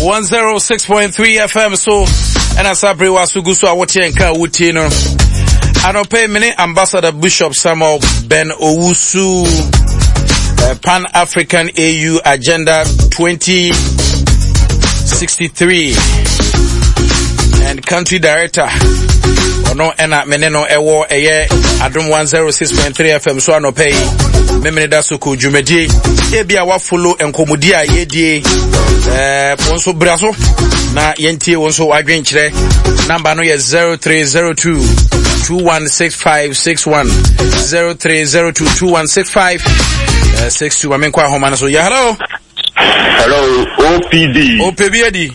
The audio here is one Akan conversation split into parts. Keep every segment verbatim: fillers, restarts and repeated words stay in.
one zero six point three F M so ɛna saa bere wa so gu so a woteɛ nka a wotie no anɔpɛ mene Ambassador Bishop Samuel Ben Owusu, uh, Pan African A U Agenda twenty sixty-three and country director. Ɔno ɛna mene no ɛwɔ ɛyɛ Adom one zero six point three F M so anɔpɛ yi. Memene da so kɔ dwumadie ebi a wafollow nkɔmmɔdi a yɛdie ɛɛ wɔn nso bra so na yɛntie wɔn nso wadwenkyerɛ. Number no yɛ zero three zero two two one six five six one, zero three zero two two one six five six two. Maame nkɔ ahoma no so. Yɛ hello. Hello, O P D. Ɔpɛ bi adi.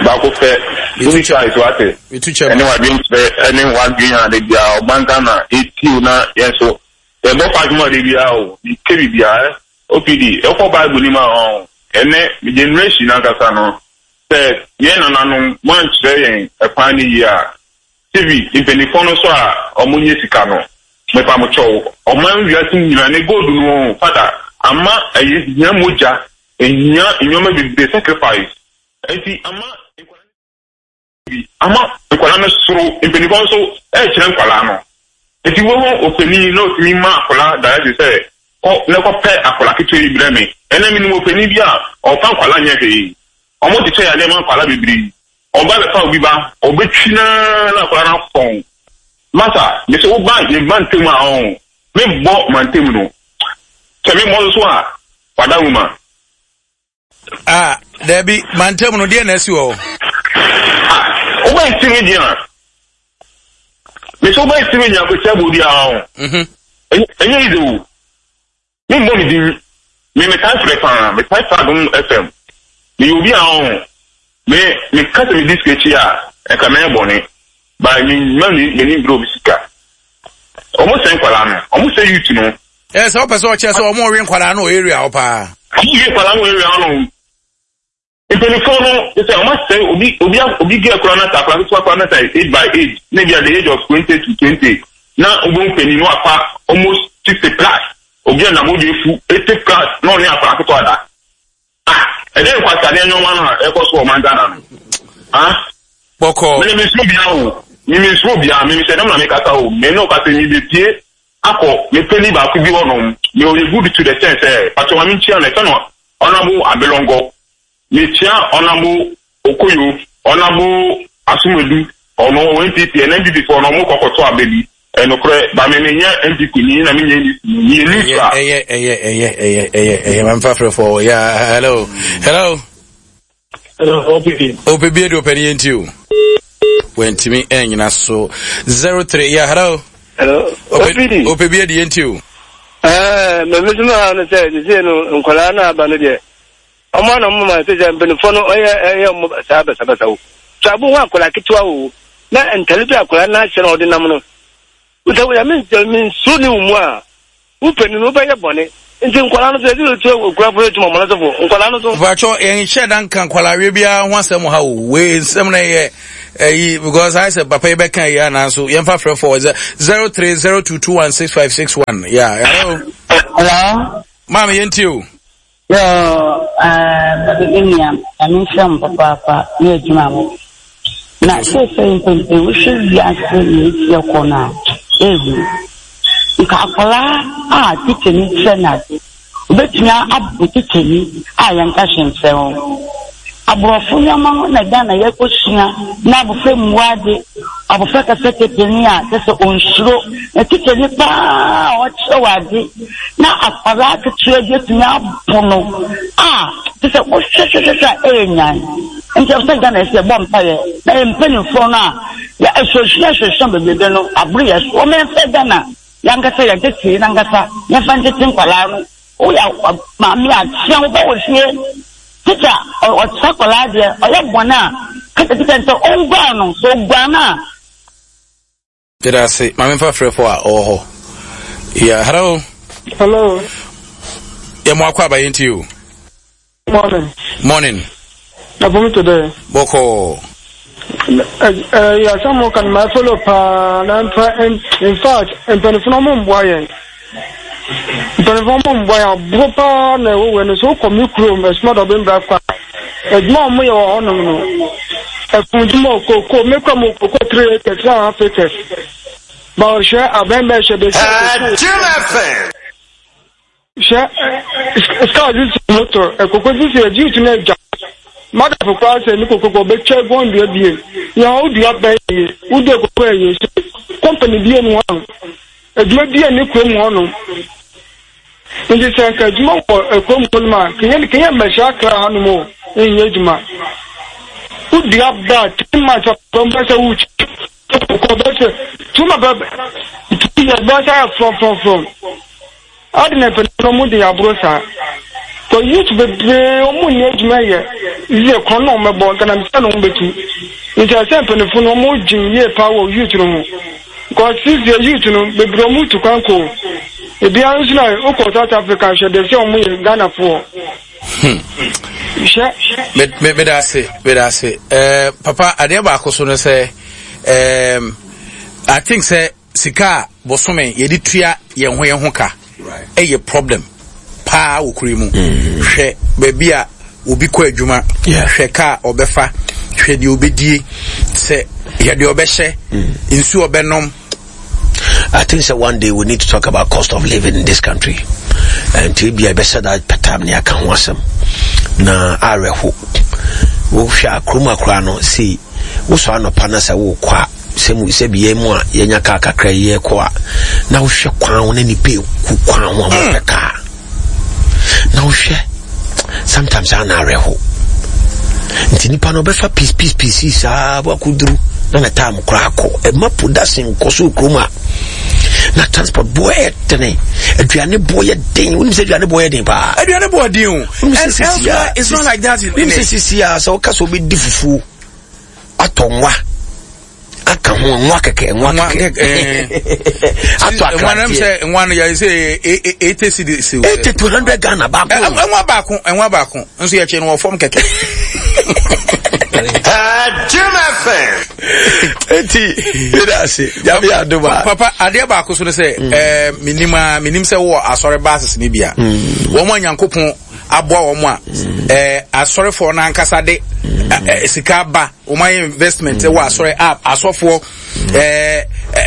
Baako pɛ. Wuni size wate. Metu kyɛm. Ɛne wadwenkyerɛ ɛne wadwen a de bia ɔman Ghana etiw na yɛn so. Yɛbɔ fa adwuma de bia o. Ike bibia ɛ. O P D, ɛkɔ Bible ni ma ɔn. Ɛnɛ generation ankasa no. Sɛ yɛn nananom mo ankyerɛ yɛn ɛkwan ne yie a. T V mpanyinfoɔ no so a ɔmo nye sika no. Mepa mo kyɛw. Ɔman wiase nyinaa ne gold no fada ama ɛyɛ hia mogya, ehia nneɛma bebree, sacrifice. Nti ama bi ama nkwadaa no soro mpanyinfoɔ nso ɛrekyerɛ nkwadaa no. Nti wɔn opanin na otumi ma akwadaa direction sɛ kɔ na kɔpɛ akwadaa ketewa yi brɛ me. Ɛnna mi nim opanin bi a ɔfa nkwadaa nyɛ hwee. Wɔn kyekyɛ yadeɛ ma nkwadaa bebree. Ɔba bɛfa obi ba, ɔbɛtwi naa na akwadaa no afɔn. Masa mesi wo ba yɛ ba ntɛm a ɔn me bɔ ma ntɛm no sɛ me bɔ nso a wada nwoma. Ah, dabi, mantam no deɛ na asi wɔ hɔ. Ah, wobɛn si mi deɛ mesi wobɛn si mi deɛ akɔkyɛ bɔ bi a ɔn ɛnyɛ yi de o. Mi mbɔ mi din, mi mi tae frɛ paa, mi tae frɛ Adom F M. Mi yɛ obi a ɔn mi mi kasa mi di sika akyi a ɛka mɛyɛ bɔne ba mi mma mi m'ani mbere obi sika. Ɔmo sɛ nkwadaa no, ɔmo sɛ youth no. Ɛ sɛ wopɛ sɛ ɔkyerɛ sɛ ɔmo ɔwe nkwadaa no wɔ area hɔ paa. Ɔmo wie nkwadaa no wɔ area hɔ no. Mpanyinfoɔ no sɛ ɔmo asɛ obi obi obi gɛ kora na sa akora ketewa kora na sa age by age na ebi at the age of twenty to twenty na obo mpanyin no afa almost sixty plus, obi a nam odi efu eighty plus na ɔne akora ketewa da. Ah, ɛdɛ nkwasadeɛ nneɛma no a ɛkɔ so wɔ ɔman Ghana no, ah. Bɔkɔ. Mene mi nsuro bia o, mi mi nsuro bia. Mi mi sɛ dɛm na mi kasa o. Mi ne o kasa mi bɛ pie akɔ mi panyin baako bi hɔ nom. Mi ɔyɛ good to the sense sɛ patro ma mi nkyia no, ɛfɛ no Honourable Abelɔngɔ. Mekyia Honourable Okoyo, Honourable Asomadu. Ɔno ɔwɔ N P P. Ɛna N P P foɔ no ɔmo kɔkɔtɔ aba bi. Ɛnokorɛ ba mi mi nyɛ N P P ni na mi nyɛ N D C ni, mi yɛ neutral. Ɛyɛ ɛyɛ ɛyɛ ɛyɛ ɛyɛ ɛyɛ mamfa frɛfoɔ. Yeah, hello, hello. Hello, O P D. Ɔpɛ bi adi, ɔpɛ ne yɛnti o. Wantumi ɛnyina so. Zero three, yeah, hello. Hello, O P D. Ɔpɛ bi adi, yɛnti o. Ɛɛ, mɛ mi suma ha no sɛ sise no nkwadaa no aba no deɛ, ɔmo ana ɔmo ma sɛ sɛ mpanyinfoɔ no ɔyɛ ɛyɛ ɔmo saa basabasa o. So abo ho akwadaa ketewa o na ntale bi akwadaa n'ahyɛ na ɔde nam no. Sɛ wɔyɛ mi mi nsuo ne mu a, wo panin no wobɛyɛ bɔne. Nti nkwadaa no so yɛde otu okura fo etu ɔmo no so fo nkwadaa no so. Mpatsɔ, yɛnhyɛ da nka nkwalaawe biara ho asɛm ha o. Wei nsɛm no yɛ ɛyi because ayɛ sɛ papa yi bɛka yi anaa so yɛmfa frɛ fɔ zero three zero two two one six five six one. Yeah, hello. Hello. Maame, yɛntie o. Yo, uh, me nua, nyame nhyira mo papaapa ne adwuma mo. Na seesei mpempem wohwɛ wiase na esi ɛkɔ no a, ehu. Nka akwaraa a tikyani kyerɛ no ade, obetumi abo tikyani a yɛnka hwee nkyerɛ wɔn. Aborɔfo nneɛma ho na Ghana yɛkɔsua na abɔfra mmua ade, abɔfra kasa tepeni a kyɛ sɛ ɔnsuro. Na tikyani paa a ɔkyerɛ wɔ ade na akwaraa ketewa bi atumi abo no a kyɛ sɛ wohwɛhwɛhwɛ a ɛyɛ nyan. Nti ɛwɔ sɛ Ghana yɛsɛ yɛbɔ mpaeɛ na yɛ mpanimfoɔ no a yɛ asuasua asuasua bebrebe no aboro yɛ so. Wɔn yɛmfa Ghana yɛankasa yɛntete nankasa yɛmfa ntete nkwaraa no. Woyɛ maame a kyea wo ba wɔ fie, tikya ɔkyerɛ akwaraa deɛ ɔyɛ bɔne a, kasa tikya sɛ ɔnguan no sɛ ɔguan no a. Yɛda ase. Maame mfa frɛfo a ɔwɔ hɔ. Yeah, hello. Hello. Yɛ mo akɔ aba, yɛntie o. Morning. Morning. Na fom to dɛ. Bɔkɔɔ. Ɛyɛ asɛm mo ka no ma follow paa na mfa. In fact, mpanyinfo no ɔmo mboa yɛn. Mpanyinfo ɔmo mboa yɛn aboro paa na ɛwɔ wɔ no so wokɔ mi kurom ɛsoma dɔ ɔbɛn bra kwa. Adwuma a wɔyɛ wɔ hɔnom no, ɛfundwuma o, koko, mekura mu koko three acres, three and a half acres. Ba ɔhwɛ abɛn bɛhwɛ bɛsi koko. Hwɛ sika a ɔdze si moto, koko dze si youth no agya. Madafo koraa sɛ ne koko kɔ ɔbɛtwa egu ɔndua bie. Nea wodua bɛn ye, wodua koko ɛye. Company bie ni hɔnom, adwuma bie ni kurom hɔnom. Nti sɛ nka adwuma wɔ kurom hɔnom a, kenya kenya mmɛhyɛ Accra hanom o, nyɛ adwuma. Wodua ba three months papa mbɛ sɛ wotwa koko bɛsɛ two months papa two years bɛsɛ ayɛ frɔmfrɔmfrɔm. Adi na mpanyinfoɔ no wɔn de aboro saa. Kɔ youth bebree wɔn nni adwuma yɛ yie korɔ na wɔn bɛbɔ nkanamsɛ na wɔn bɛtu. Nti ɛsɛ mpanyinfoɔ no wɔn dwen yie paa wɔ youth no ho. Because sisi youth no bebree wɔn tu kwan kɔ ebiara nso na wokɔ South Africa hwɛ de sɛ wɔn yɛ Ghanafoɔ. Hmm. Hwɛ. Meda ase, meda ase. Eh, papa, adeɛ baako so no sɛ, um, I think sɛ sika a bosome yɛde tua yɛn ho yɛn ho ka ɛyɛ problem paa wɔ kuro mu. Mm. Hwɛ baabi a obi kɔ adwuma, hwɛ kaa ɔbɛfa, hwɛ deɛ ɔbɛdie, sɛ hwɛ deɛ ɔbɛhyɛ, mm. nsuo ɔbɛnom. I think that one day we need to talk about cost of living in this country. And to be a better that patam ne aka ho asɛm. Na awerɛho. Wohwɛ a kurom akora no sei wosɔ anɔpa na sɛ wokɔ a sɛ mu sɛ bi yɛn mu a yɛnya kaa kakra yi yɛkɔ a na wohwɛ kwan ho na nipa eku kwan ho a wɔpɛ kaa na wohwɛ sometimes a na awerɛho nti nipa no ɔbɛfa peace peace peace saa wakɔduru na na time koraa kɔ ɛma production kɔ so kurom a na transport boɔ yɛ dene aduane boɔ yɛ den wonim sɛ aduane boɔ yɛ den paa aduane boɔ den o and elsewhere it's not like that wonim sɛ sisi a sɛ woka sɛ wobɛdi fufuo atɔ nwa aka ho nwa kɛkɛ nwa kɛkɛ atɔ akranteɛ sɛ nwa no yɛ sɛ eighty cedis eighty to hundred Ghana baako nwa baako nwa baako nso yɛ kyɛ no wɔ fam kɛkɛ. Jim F M. Eti yɛda ase Nyame adom a. Papa adeɛ baako so no sɛ ɛɛ menim a menim sɛ wɔ asɔre bases ne bi a wɔn a Nyankopɔn aboa wɔn a ɛɛ asɔrefoɔ no ankasa de ɛɛ sika ba wɔn ayɛ investment wɔ asɔre app asɔfoɔ ɛɛ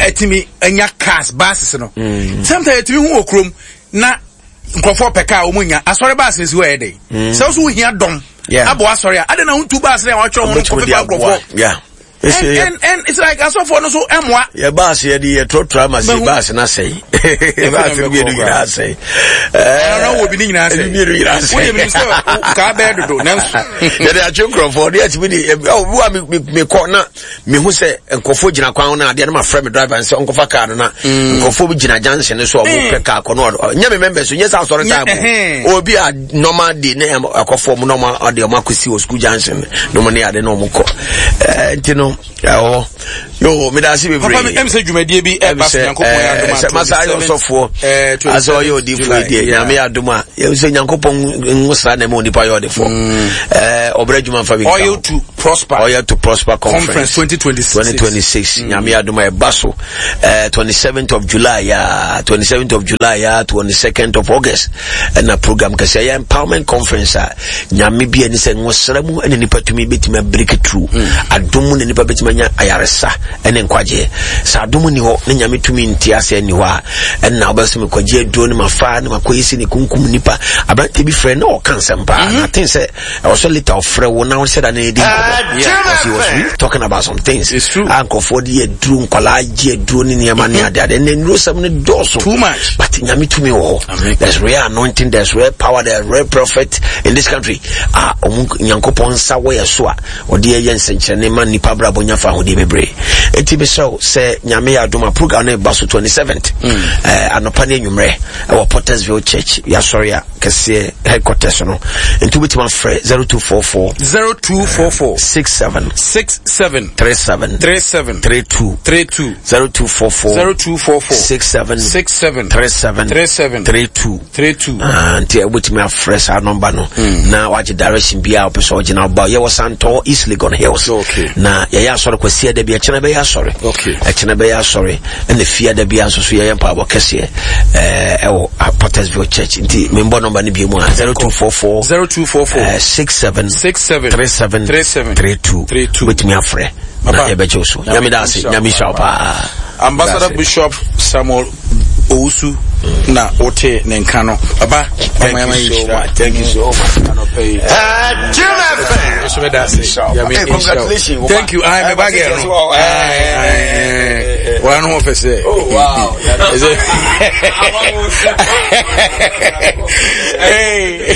ɛtumi anya cars buses no sometimes ɛtumi hu wɔ kurom na nkurɔfoɔ pɛ kaa wɔn nya asɔre bus no si hɔ ɛyɛ dɛ sɛ ɔso wohia dɔm abɔ asɔre a adɛn na wontu bus no a wɔatwerɛ ho no kɔfefa nkurɔfoɔ. And, and, and it's like asɔfoɔ no so ɛmoa. Yɛ baasi yɛ de yɛ trɔtrɔ ama se baasi na sɛyi. Baasi no mienu nyinaa sɛyi. Ɛna wɔ bi ne nyinaa sɛyi. Mienu nyinaa sɛyi. Wọ́n yɛ mi sɛ kaa bɛɛ dodo nanso. Yɛde atwe nkurɔfoɔ de atumi de ɔ bi wa mi mi kɔ na mi hu sɛ nkurɔfoɔ gyina kwan ho na adeɛ no ma frɛ mi driver nsɛ ɔnkɔfa kaa no na nkurɔfoɔ bi gyina junction no so a wɔn pɛ kaa kɔ no ɔdo nyɛ mi mɛmbɛ so nyɛ sɛ asɔre time o obi a normal day ne akɔfo ɔmo na ɔmo ɔde ɔmo akɔsi wɔ school junction na ɔmo ne ade na ɔmo kɔ ɛɛ nti no ɛwɔ yo meda ase bebree papa mi ɛm sɛ dwumadie bi ɛba so nyankopɔn yɛ adom a sɛ masa ayɛ ɔsɔfoɔ asɛ ɔyɛ odiifoɔ deɛ nyame yɛ adom a yɛm sɛ nyankopɔn nwosra na ɛma onipa yɛ ɔdefoɔ ɛɛ ɔbrɛ adwuma mfa bi nka oil to prosper oil to prosper conference twenty twenty six twenty twenty six nyame yɛ adom a ɛba so ɛɛ twenty seventh of July ya twenty seventh of July ya twenty second of August ɛna program kɛse ɛyɛ empowerment conference a nyame bi ani sɛ nwosra mu ɛna nipa tumi bɛtumi abreak through mm. adom mu na nipa bɛtumi anya ayaresa ɛne nkwagyeɛ sɛ adom ni hɔ na nyame tumi nte ase ani hɔ a ɛna wobɛsɛ mekwagye aduro ne mafa ne makɔyɛ si ne kunkum nipa aberante bi frɛ na ɔka nsɛm paa mm-hmm. na aten sɛ ɛwɔ sɛ later ɔfrɛ wo na wo sɛ da ne ɛdi nkɔmmɔ because he was really talking about some things a nkurɔfoɔ de yɛ aduro nkwadaa gye aduro ne nneɛma ne ade ade ɛnna nnuro sɛm no dɔɔso too much but nyame tumi wɔ hɔ there's real anointing there's real power there's real prophet in this country a ɔmo nyankopɔn nsa wɔ yɛ so a ɔde yɛ nsɛnkyerɛnne ma nnipa abrabɔ nya fa ahodeɛ bebree eti mesrɛ wo sɛ nyame yɛ adom a program no ba so twenty seventh mm. eh, anɔpa ne anwummerɛ ɛwɔ Pottersville Church yɛasɔre a kɛseɛ headquarters no nti wobɛtumi afrɛ zero two four four zero two four four six seven six seven three seven three seven three two three two zero two four four zero two four four six seven six seven three seven three seven three two three two. Ah, nti wobɛtumi afrɛ saa nɔmba no Hmm. na wagye direction biaa wopɛ sɛ ɔgyina woba. Yɛwɔ Santɔ, East Legon Hills. Okay. Na yɛyɛ asɔre Kwasia da bi, ɛkyena bɛyɛ asɔre. Okay. Ɛkyena bɛyɛ asɔre, ɛna fia da bia nso so yɛyɛ mpaabɔ kɛseɛ ɛɛ, ɛwɔ ah, Pottersville Church. Nti membɔ nɔmba no bio mu a, zero two four four zero two four four six seven six seven three seven three seven three two. three two. Wobɛtumi afrɛ na Papa. yɛbɛgye wo so. Nyame da ase, Nyame hyira wo paa. Ambassador That's it. Bishop Samuel Owusu na wote ne nka no. Papa, Thank you so much. Thank you so much. Anɔpɛ yi nso bɛda ase. Nyame Hey, nhyira wo. congratulations. Thank you. Aye, me ba girl no. Aye, aye. Wa no ho fɛ sɛ. Oh, wow. Is it? Hey.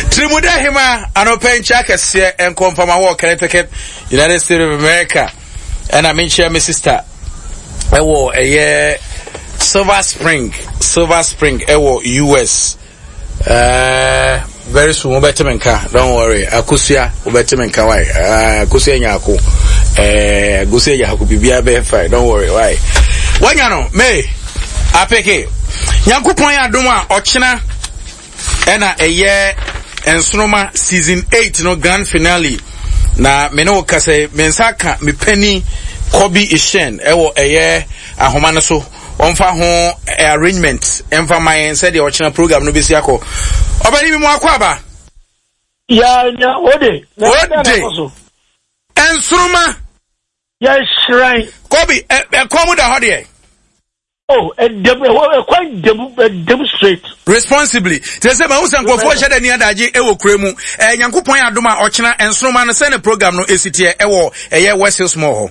Tirimuda hema anɔpɛ nkyɛ akɛseɛ nkɔ mfama wɔ Connecticut, United States of America. Ɛna menkyia me sister ɛwɔ ɛyɛ Silver Spring, Silver Spring ɛwɔ U S. Uh, very soon wobɛte me nka, don't worry. Akosua, wobɛte me nka. Why? uh, akosua Nyako, uh, Akosua Nyako, biribiara bɛyɛ fine, don't worry. Why wanya no may apeke Nyankopɔn yɛ adom a, ɔkyena ɛna ɛyɛ Nsoroma season eight no grand finale. Na me ne wo kasa yi, me nsa ka me pani Kobi Ishen ɛwɔ ɛyɛ ahoma no so, ɔmfa ho eh, arrangement ɛmfa ma yɛn sɛdeɛ ɔkyena program no bɛsi akɔ. Ɔbɛni mi mu akɔ aba. Ya nya ode. Ode. Nsoroma. Yɛhyerɛn. Kobi, ɛ ɛkɔn mu da hɔ deɛ. Oh, ɛdɛm ɛwɔ ɛkwan dɛm ɛdɛm straight. Responsibly kyerɛ sɛ mahu sɛ nkurɔfoɔ hyɛ dɛ ni adagye ɛwɔ kura mu. ɛɛ Nyankopɔn yɛ adom a, ɔkyena Nsoroma no, sɛ ne program no esi teɛ ɛwɔ ɛyɛ West Hills Mall hɔ?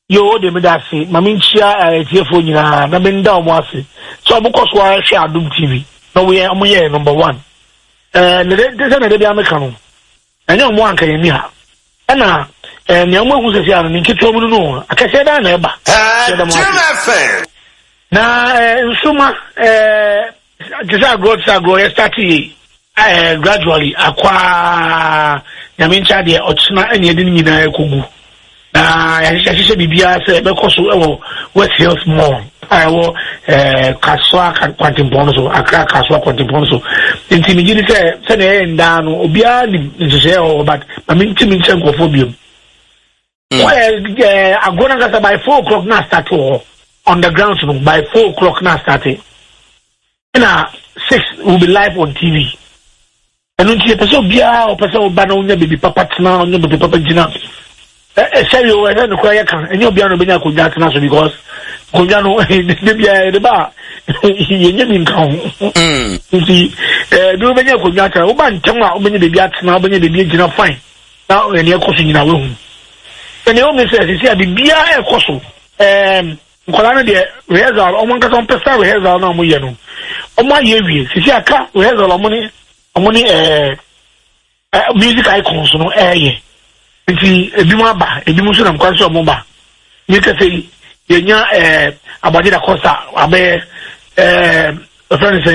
Yo, ode, mi da ase. Ma mi nkyia ɛtiɛfoɔ nyinaa na mi nda wɔn ase sɛ wɔn kɔ so ahwɛ Adum T V na wɔn yɛ wɔn yɛ number one. Ɛɛ ne de sɛ na de bi ameka no, ɛnyɛ wɔn anka yɛn ni ha, ɛna ɛɛ nea wɔn ehu sɛsi ano ne nketewa mu no no akɛseɛ dan na ɛba. Yɛda mo ase. Na ɛɛ nsoma ɛɛ te sɛ agorɔ te sɛ agorɔ yɛ start yie ɛɛ gradually akɔaa. Nyame nkyɛn deɛ, ɔkyena ɛna yɛde ne nyinaa ɛkɔgu na yɛahyehyɛ hyehyɛ biribiara sɛ ɛbɛkɔ so ɛwɔ West Hills Mall a ɛwɔ ɛɛ Kasoa kwantempɔn no so, Accra Kasoa kwantempɔn no so. Nti megye di sɛ sɛnea ɛyɛ ndaa no, obiara nim nhyehyɛeɛ wɔ hɔ, but ma mentimi nkyɛn nkurɔfoɔ biom. Ɛɛ ɛɛ agorɔ no ankasa, by four o'clock na start wɔ hɔ on the ground no. By four o'clock na start, ɛna six will be live on T V. Ɛno nti yɛpɛ sɛ obiara ɔpɛ sɛ ɔba na ɔnya baabi papa tena, ɔnya baabi papa gyina. Ɛsɛ yi o, ɛsɛ nokora yɛ ka, ɛnyɛ obiara na ɔbɛnya akonnwa atena so, because akonnwa no de biara yɛde ba a, yɛnyɛ bi nka ho. Nti ɛɛ bi wobɛnya akonnwa atena, woba ntɛm a, wobɛnya baabi atena, wobɛnya baabi agyina fine, na ɛnea ɛkɔ so nyinaa wahu. Ɛnea ɛwɔ mu sɛ sisi a biribiara ɛkɔ so, ɛɛm nkwadaa no deɛ, rehearsal ɔmo ankasa ɔmo pɛ sɛ rehearsal na ɔmo yɛ no, ɔmo ayɛ awie. Sisi aka rehearsal ɔmo ne ɔmo ne ɛɛ ɛ music icons no ɛɛyɛ. Nti ebi mu aba, ebi mu nso nam kwan so ɔmo ba. Ne kɛse yi yɛnya ɛɛ Abagye da Costa abɛyɛ ɛɛ ɛfɛn ne sɛn.